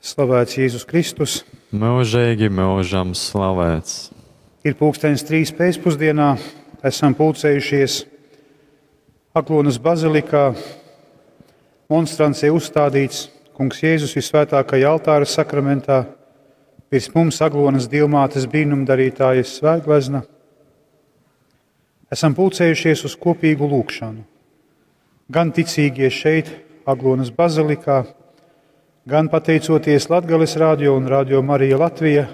Slavēts Jēzus Kristus! Mūžīgi mūžam slavēts! Ir pulkstenis trīs pēcpusdienā, esam pulcējušies Aglonas bazilikā. Monstrancē uzstādīts Kungs Jēzus visvētākajā altāra sakramentā, virs mums Aglonas Dievmātes brīnumdarītājas svētglezna. Esam pulcējušies uz kopīgu lūgšanu. Gan ticīgie šeit, Aglonas bazilikā, gan pateicoties Latgales radio un Radio Marija Latvija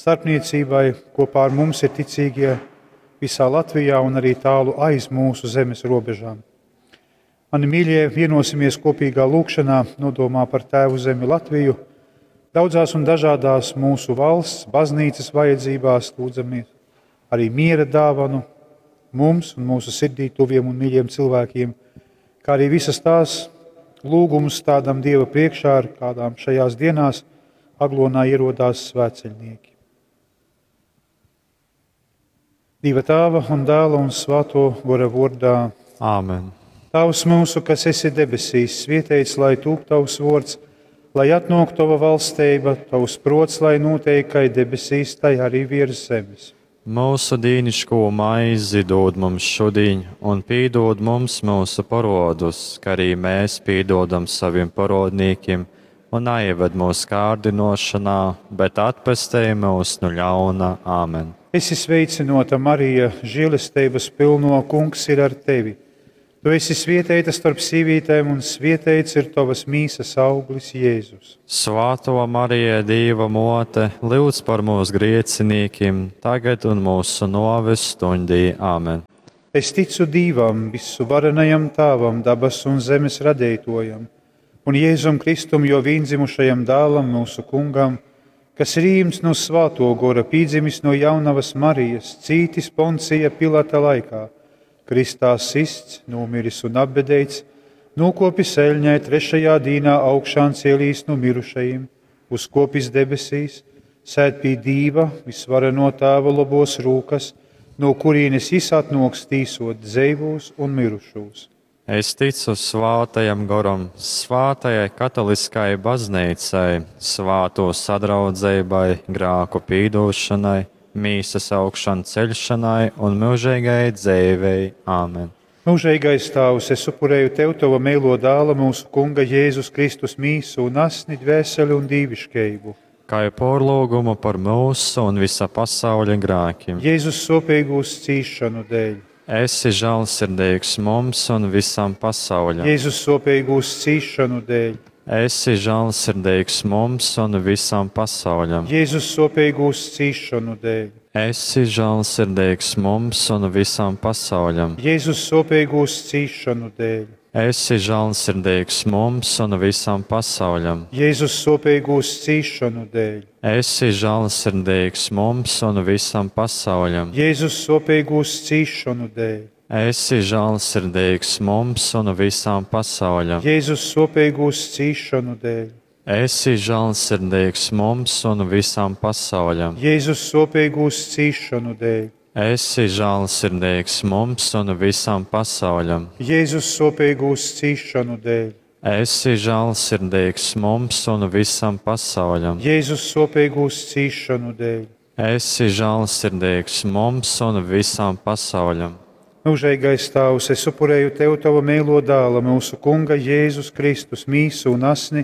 starpniecībai, kopā ar mums ir ticīgie visā Latvijā un arī tālu aiz mūsu zemes robežām. Mani mīļie, vienosimies kopīgā lūgšanā, nodomā par Tēvu zemi Latviju. Daudzās un dažādās mūsu valsts, baznīcas vajadzībās lūdzamies arī miera dāvanu mums un mūsu sirdī tuviem un mīļiem cilvēkiem, kā arī visas tās lūgumus stādam Dieva priekšā, ar kādām šajās dienās Aglonā ierodās svētceļnieki. Dieva Tēva un Dēla un Svēto Gora vārdā. Āmen! Tavs mūsu, kas esi debesīs, svētīts lai tūp tavs vārds, lai atnāk tava valstība, tavs prots, lai notiek kā debesīs, tai arī virs zemes. Mūsu dīniško maizi dod mums šodien, un pīdod mums mūsu parodus, kā arī mēs pīdodam saviem parodnīkiem, un neieved mūsu kārdinošanā, bet atpestej mūs no ļauna. Āmen! Esi sveicināta, Marija, žēlestības pilno, kungs ir ar tevi. Tu esi svētīta starp sīvītēm, un svētīts ir tavas mīsas auglis, Jēzus. Svāto Marija, Dieva mote, lūdz par mūsu griecinīkiem, tagad un mūsu noves stundī. Āmen! Es ticu Dievam, visuvarenajam Tēvam, dabas un zemes radītojam, un Jēzum Kristum, jo vienzimušajam dēlam, mūsu kungam, kas ir īmts no Svāto gora, pīdzimis no jaunavas Marijas, cītis Poncija Pilata laikā, kristā sists, nomiris un apbedēts, nokopis eļņai trešajā dīnā augšām cielīs no mirušajiem, uzkopis debesīs, sēd pie Dīva, visvareno Tēva lobos rūkas, no kurienes jis atnoks tīsot dzeivos un mirušos. Es ticu svātajam goram, svātajai katoliskai baznīcai, svāto sadraudzībai, grāku pīdošanai, mīsas augšan ceļšanai un mūžīgai dzīvei. Āmen! Mūžīgais Tēvs, es upurēju Tev Tava mīlo dēla, mūsu Kunga Jēzus Kristus mīsu un asni, dvēseli un dīviškeibu. Kā jau porlūgumu par mūsu un visa pasauļa grēkiem. Jēzus sopīgūs cīšanu dēļ. Esi žēlsirdīgs mums un visam pasauļam. Jēzus sopīgūs cīšanu dēļ. Esi žēlsirdīgs mums un visam pasauļam. Jēzus sopīgūs cīšanu dēļ. Esi žēlsirdīgs mums un visam pasauļam. Jēzus sopīgūs cīšanu dēļ. Esi žēlsirdīgs mums un visam pasauļam. Jēzus sopīgūs cīšanu dēļ. Esi žēlsirdīgs mums un visam pasauļam. Jēzus sopīgūs cīšanu dēļ. Esi žēlsirdīgs mums un visam pasauļam. Jēzus sopīgūs cīšanu dēļ. Esi žēlsirdīgs mums un visam pasauļam. Jēzus sopīgūs cīšanu dēļ. Esi žēlsirdīgs mums un visam pasauļam. Jēzus sopīgūs cīšanu dēļ. Esi žēlsirdīgs mums un visam pasauļam. Jēzus sopīgūs cīšanu dēļ. Esi žēlsirdīgs mums un visam pasauļam. Mūžīgais Tēvs, es upurēju Tev Tava mīlo dēla, mūsu Kunga Jēzus Kristus mīsu un asni,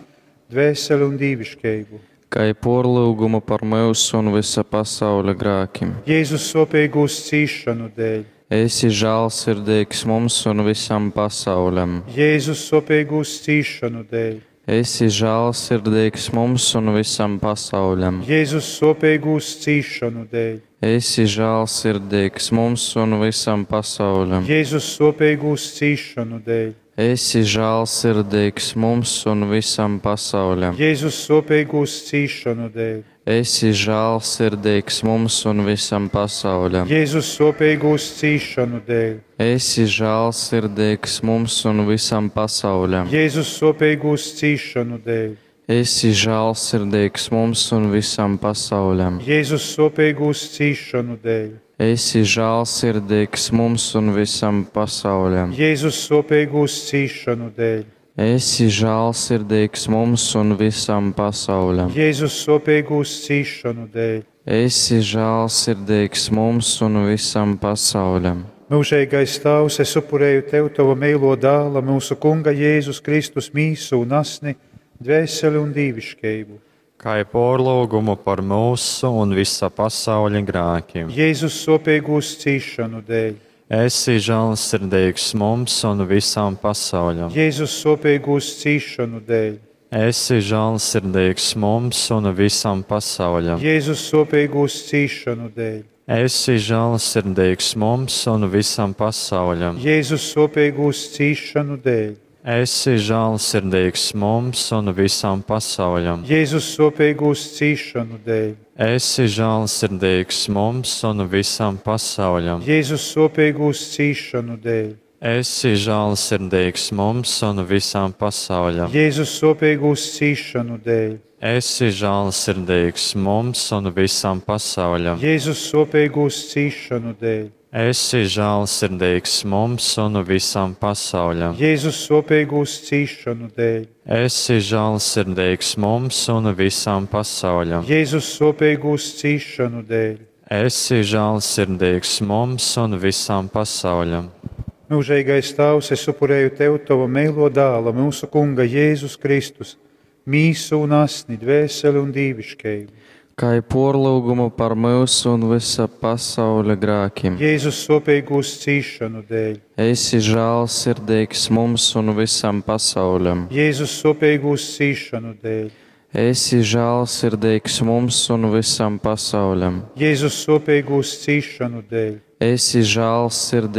dvēseli un dīviškeibu. Kā porlūgumu par mūsu un visa pasauļa grēkiem. Jēzus sopīgūs cīšanu dēļ. Esi žēlsirdīgs mums un visam pasauļam. Jēzus sopīgūs cīšanu dēļ. Esi žēlsirdīgs mums un visam pasauļam. Jēzus sopīgūs cīšanu dēļ. Esi žēlsirdīgs mums un visam pasauļam. Jēzus sopīgūs cīšanu dēļ. Esi žēlsirdīgs mums un visam pasauļam. Jēzus sopīgūs cīšanu dēļ. Esi žēlsirdīgs mums un visam pasauļam. Jēzus sopīgūs cīšanu dēļ. Esi žēlsirdīgs mums un visam pasauļam. Jēzus sopīgūs cīšanu dēļ. Esi žēlsirdīgs mums un visam pasauļam. Jēzus sopīgūs cīšanu dēļ. Esi žēlsirdīgs mums un visam pasauļam. Jēzus sopīgūs cīšanu dēļ. Esi žālsirdīgs mums un visam pasauļam. Jēzus sopīgūs cīšanu dēļ. Esi žālsirdīgs mums un visam pasauļam. Mūžīgais Tēvs, es upurēju Tev Tava mīlo dēla, mūsu Kunga Jēzus Kristus mīsu un asni, dvēseli un dīviškību. Kā porlūgumu par mūsu un visa pasauļa grēkiem. Jēzus sopīgūs cīšanu dēļ. Esi žēlsirdīgs mums un visam pasauļam. Jēzus sopīgūs cīšanu dēļ. Esi žēlsirdīgs mums un visam pasauļam. Jēzus sopīgūs cīšanu dēļ. Esi žēlsirdīgs mums un visam pasauļam. Jēzus sopīgūs cīšanu dēļ. Esi žēlsirdīgs mums un visam pasauļam. Jēzus sopīgūs cīšanu dēļ. Esi žēlsirdīgs mums un visam pasauļam. Jēzus sopīgūs cīšanu dēļ. Esi žēlsirdīgs mums un visam pasauļam. Jēzus sopīgūs cīšanu dēļ. Esi žēlsirdīgs mums un visam pasauļam. Jēzus sopīgūs cīšanu dēļ. Esi žēlsirdīgs mums un visam pasauļam. Jēzus sopīgūs cīšanu dēļ. Esi žēlsirdīgs mums un visam pasauļam. Jēzus sopīgūs cīšanu dēļ. Esi žēlsirdīgs mums un visam pasauļam. Mūžīgais Tēvs, es upurēju Tev Tava mīlo dēla, mūsu Kunga Jēzus Kristus, mīsu un asni, dvēseli un dīviškību. Kā porlūgumu par mūsu un visa pasauļa grēkiem. Jēzus sopīgūs cīšanu dēļ. Esi žēlsirdīgs mums un visam pasauļam. Jēzus sopīgūs cīšanu dēļ. Esi žēlsirdīgs mums un visam pasauļam. Jēzus sopīgūs cīšanu dēļ. Esi žēlsirdīgs.